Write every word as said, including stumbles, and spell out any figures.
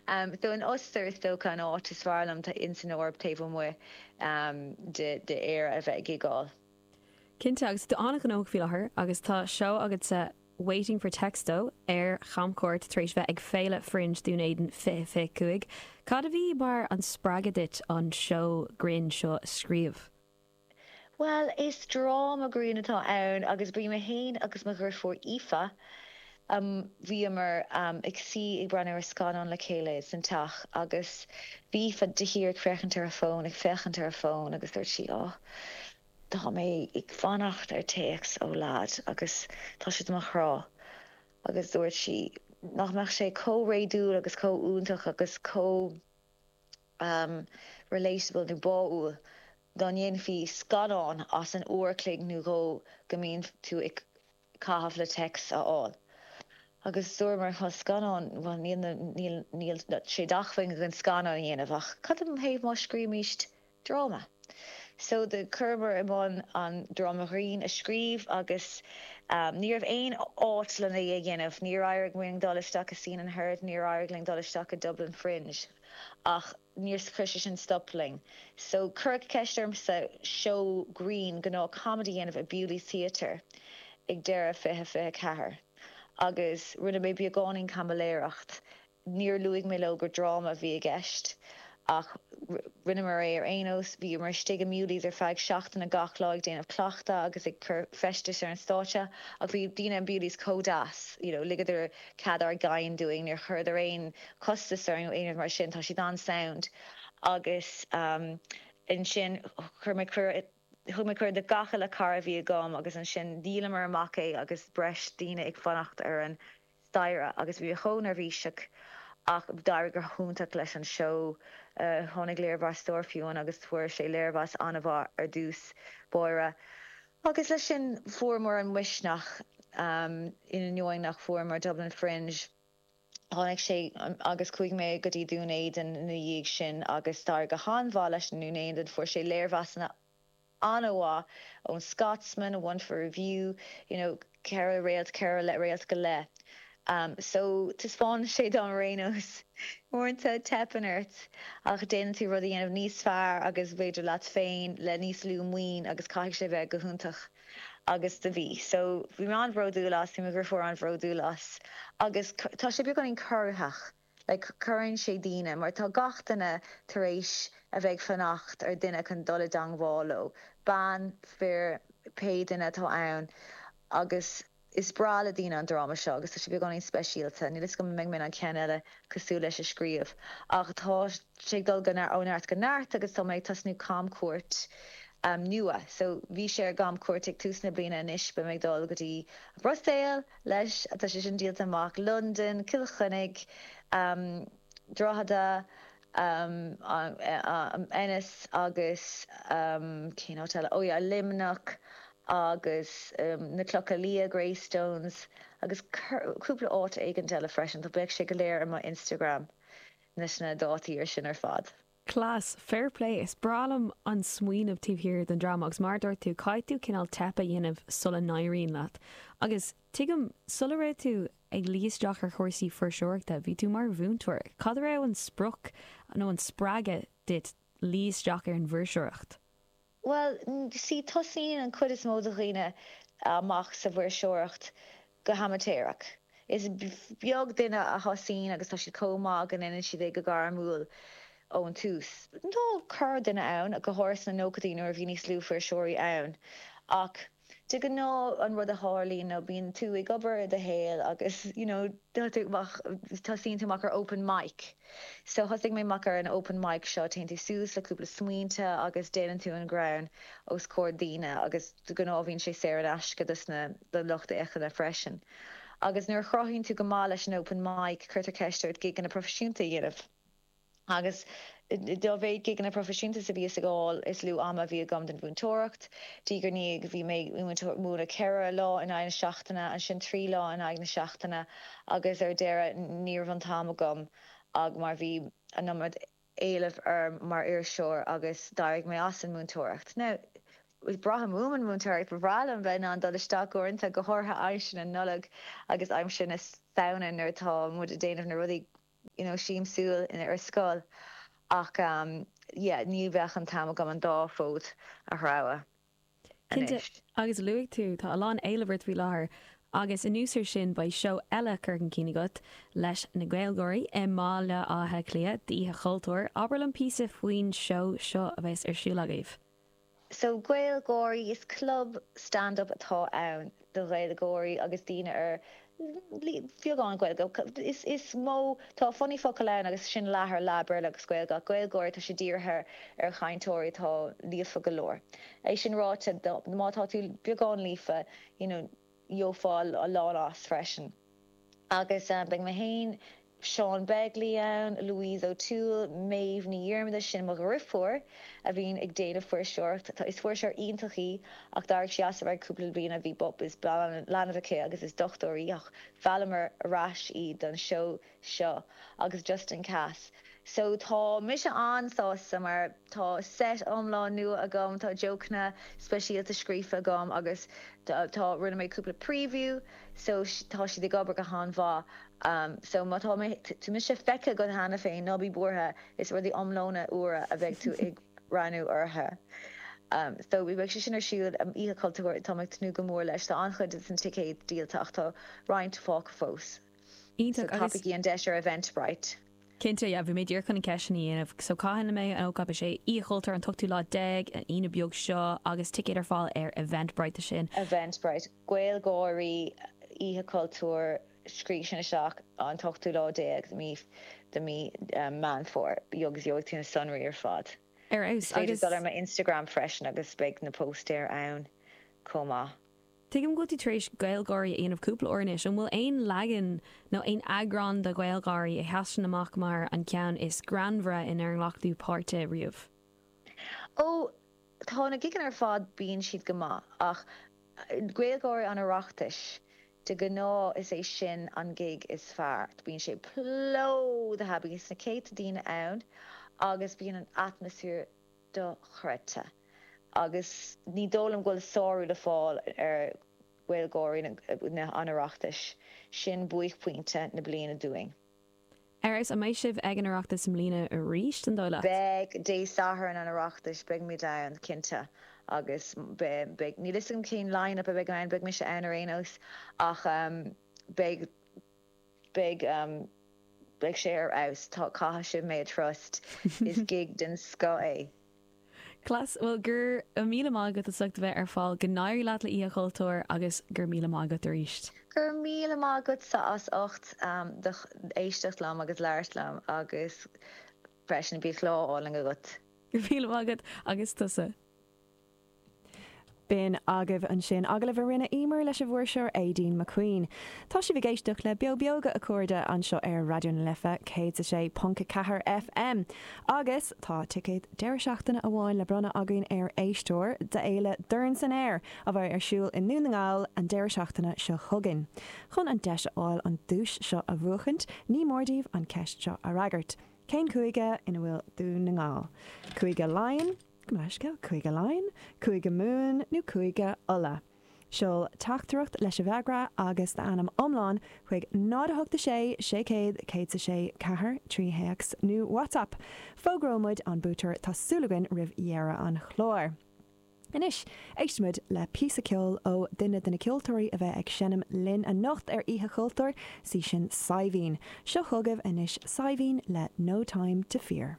Um, so an Ostair is dócha an áit is fearr liom in san Eoraip taobh amuigh um, de de Éire a bheith ag gigáil. Cinnte agus tú an-ghnóthach faoi láthair agus tá seó agatsa Waiting for Texto ar chamchuairt tar éis bheith ag Féile Fringe Dún Éideann fiche fiche cúig. Cad a bhí mar an spreagadh duit an seó grinn seo a scríobh? Well, is dráma grinn atá ann agus bhí mé féin agus mo dheirfiúr Aoife um, bhíomar um, ag suí ag breathnú ar scannán le chéile san teach agus bhí Aoife de shíor ag féachaint ar a fón ag féachaint ar a fón agus dúirt sí á Tá mé ag fanacht ar téacs ó leaid agus tá sé mo chrá agus dúirt sí nach mbeadh sé chomh réadúil agus chomh iontach agus chomh um, relatable nó báúil dá ndéanfaí scannán as an uair chloig nó dhó go mbíonn tú ag caitheamh le téacs a fháil. Agus dúramar chun scannán níl níl sé d'acmhainn an scannán a dhéanamh ach cad ina thaobh má scríobhaimis dráma. So do chuamar i mbun an dráma grinn a scríobh agus um, ní raibh aon áit lena é dhéanamh, níor éirigh linn dul isteach i Scene and Heard, níor éirigh linn dul isteach i Dublin Fringe ach níor chuir sin stop linn. So cuireadh ceist ormsa seó grinn gnáth comedy dhéanamh i Bewley's Theatre ag deireadh fiche fiche ceathair. Agus rinne mé beagáinín caimiléireacht, níor luaigh mé leo gur dráma a bhí i gceist ach rinneamar é ar aon nós bhí mar istigh i Bewley's ar feadh seachtaine gach lá ag déanamh cleachtadh agus ag cur feistis ar an stáitse ach bhí daoine in Bewley's chomh deas you know, ligeadar cead ár gcairr dúinn níor chuireadar aon chostas ar aon mar sin tá siad an-sound agus um, ansin chuir mé thug mé cuireadh do gach uile chara a bhí agam agus ansin dhíolamar amach é agus breis daoine ag fanacht ar an staighre agus bhí chomh neirbhíseach ach d'éirigh go hiontach leis an seó uh, tháinig léirmheastóir fiúin agus fuair sé léirmheas an-mhaith ar dtús báire. Agus leis sin fuaireamar an misneach um, in ainneoin nach bhfuaireamar Dublin Fringe. Tháinig sé um, agus chuaigh mé go dtí Dún Éideann ina dhiaidh sin agus d'éirigh go han-mhaith leis an Dún Éideann fuair sé léirmheasanna an-mhaith ón Scotsman, one for review, you know, ceithre réalt ceithre le réalt go leith. Um, so taispeánann sé dom ar aon nós uaireanta teipeann ort ach déanann tú rud a dhéanamh níos fearr agus b'fhéidir leat féin le níos lú maoin agus caithfidh sé bheith go hiontach agus do bhí. So bhí mé an-bhródúil as bhí mo dheirfiúr an-bhródúil as agus tá sé beagáinín corraitheach. Like, cuireann sé daoine, mar tá gach duine tar éis a bheith ag fanacht ar duine chun dul i dteagmháil leo. Bean fir pé duine atá ann agus is breá le daoine an dráma seo agus tá sé beagáinín speisialta, níl fhios agam an mbeidh mé an ceann eile cosúil leis a scríobh. Ach tá sé ag dul ó neart go neart agus tá mé ag tosnú camchuairt um, nua. So bhí sé ar camchuairt ag tús na bliana anois beidh mé ag dul go dtí Brussels leis tá sé sin díolta amach London, Cill Chainnigh, um, Drogheda, um, um, Ennis agus um, cén áit eile oh yeah, Luimneach agus um, na Clocha Liatha Greystones agus cúpla áit éigin eile freisin, tá beidh sé go léir ar mo Instagram leis na dátaí ar sin ar fad. Class, fair play is breá liom an smaoineamh taobh thiar den dráma agus mar dúirt tú caithfidh tú cineál teip a dhéanamh sula n-éiríonn leat. Agus tuigim sula raibh tú ag luí isteach ar chúrsaí fuirseoireachta, bhí tú mar mhúinteoir. Cad raibh an sprioc nó an spreagadh duit luí isteach ar an bhfuirseoireacht? Well, sí tosaíonn an chuid is mó de dhaoine amach sa bhfuirseoireacht go hamaitéarach. Is beag duine a thosaíonn agus tá siad chomh maith go ndéanann siad é go gairmiúil ón tús. Tá corrdhuine ann go háirithe sna nóchaidí nuair a bhí níos lú fuirseoirí ann. Ach de ghnáth an rud a tharlaíonn nó bíonn tú ag obair i do shaol agus you know, tosaíonn tú amach ar open mic. So thosaigh mé amach ar an open mic seo téann tú suas le cúpla smaointe agus déanann tú an greann os comhair daoine agus de ghnáth bíonn sé saor in aisce dos na do lucht féachana freisin. Agus nuair a chruthaíonn tú go maith leis an open mic cuirtear ceist ort gigeanna proifisiúnta a dhéanamh. Agus dá mhéad gigeanna proifisiúnta a bhí ag gabháil is lú ama bhí agam don mhúinteoireacht, Dí gur ní bhí mé múineadh ceithre lá in aghaidh na seachtaine ansin trí lá in aghaidh na seachtaine agus ar deireadh ní raibh an t-am agam ag mar bhí an iomad éileamh orm mar fhuirseoir agus d'éirigh mé as an múinteoireacht. Now, braithim uaim an múinteoireacht ba bhreá liom bheith in ann dul isteach uaireanta go háirithe aimsir na Nollag agus aimsir na Samhna nuair atá muid ag déanamh na rudaí you know, siamsúil in ar scoil ach um, yeah, ní bheadh an t-am agam an dá fód a threabhadh. Cinnte, agus luaigh tú tá a lán éileamh ort faoi láthair agus anuas air sin beidh seó eile curtha chun cinn agat leis na Gaelgáirí i mBaile Átha Cliath d'Oíche Chultúir. Abair liom píosa faoin seó seo a bheas ar siúl agaibh. So Gaelgáirí is club stand-up atá ann do Ghaeilgeoirí agus daoine ar beagán Gaeilge. Is is mó tá funny focal ann agus sin leath ar leath Béarla agus Gaeilge ach Gaelgáirí tá sé dírithe ar chainteoirí atá líofa go leor. É sin ráite má tá tú beagán líofa you know, gheofá a lán as freisin. Agus um, beidh mé féin Sean Begley ann, Louise O'Toole, Maeve Ní Dhiarmada sin mo dheirfiúr a bhíonn ag déanamh fuirseoireacht. Is fuirseoir iontach í ach d'éirigh sí as ar feadh cúpla bliain a bhí bob is leanbh aici agus is dochtúir í ach mheallamar ar ais í don seó seo agus Justin Cass. So tá mise an-sásta mar tá set iomlán nua agam, tá jokeanna speisialta scríofa agam agus tá rinne mé cúpla preview, so tá siad ag obair go han-mhaith. Um, so má tá tú mise feicthe agat cheana féin ná bí buartha is rudaí iomlána úra a bheidh tú ag breathnú orthu. Um, so bhí beidh sé sin ar siúl um, Oíche Chultúir tá ag tnúth go mór leis tá an-chuid den ticéad díolta ach tá roinnt fágtha fós. Iontach So tapaigí an deis ar Eventbrite. Cinnte yeah, bhí mé díreach chun an ceist sin a dhéanamh, so cathain a mbeidh an ócáid sé Oíche Chultúir an t-ochtú lá déag an Aoine beag seo agus ticéid ar fáil ar Eventbrite sin. Eventbrite. Gaelgáirí Oíche Chultúir scríobh sin isteach an t-ochtú lá déag mí de mí um, Meán Fómhair agus gheobhaidh tú na sonraí ar fad. Ar Is fheabhas féidir agus dul ar mo Instagram freisin agus beidh na póstaeir ann chomh maith. Tuigim go bhfuil tú tar éis Gaelgáirí a dhéanamh cúpla uair anois, an bhfuil aon leagan nó aon eagrán de Ghaelgáirí a sheasann amach mar an ceann is greannmhaire inar ghlac tú páirt riamh? Ó tá na gigeanna ar fad bíonn siad go maith ach Gaelgáirí an Oireachtais de ghnáth is é sin an gig is fearr. Bíonn sé plódaithe bíonn na céadta daoine ann agus bíonn an atmaisféar dochreidte. Agus ní dóigh liom go bhfuil sárú le fáil ar Ghaelgáirí na an Oireachtais sin buaicphointe na bliana dúinn. Ar fheabhas an mbeidh sibh ag an Oireachtas i mbliana arís an dóigh leat? Beidh Dé Sathairn an Oireachtais beidh muid ann cinnte agus beidh níl a fhios agam cén line-up a bheidh ann beidh mise ann ar aon nós ach um, beidh beidh um, beidh sé ar fheabhas tá caithfidh sibh mé a trust is gig den scoth é. Class well go raibh míle maith agat as ucht a bheith ar fáil go n-éirí leat le Oíche Chultúir agus go raibh míle maith agat arís. Go raibh míle maith agatsa as ucht um, do éisteacht liom agus labhairt liom agus freisin bíodh lá álainn agat. Go raibh míle maith agat agus tusa. B'in agaibh ansin agallamh a rinne Emer leis an bhfuirseoir Aideen McQueen. Tá sibh ag éisteacht le Beo Beoga a chairde anseo ar Raidió na Life céad a sé ponc ceathair FM. Agus tá ticéad deireadh seachtaine amháin le bronnadh againn ar éisteoir d'fhéile Dorn san Aer a bheidh ar siúl i nDún na nGall an deireadh seachtaine seo chugainn. Chun an deis a fháil an duais seo a bhuachaint, ní mór daoibh an ceist seo a fhreagairt. Cén cúige ina bhfuil Dún na nGall? Cúige Laighean, Leisce Cúige Laighean, Cúige Mumhan nó Cúige Uladh. Seol teachtaireacht leis an bhfreagra agus d'ainm iomlán chuig náid a hocht sé sé céad céad sé ceathair trí théacs nó WhatsApp. Fógróimid an buaiteoir tá súil againn roimh dheireadh an chláir. Anois, éistfimid le píosa ceoil ó duine de na ceoltóirí a bheidh ag seinm linn anocht ar Oíche Chultúir sí sin Saidhbhín. Seo chugaibh anois Saidhbhín le No Time to Fear.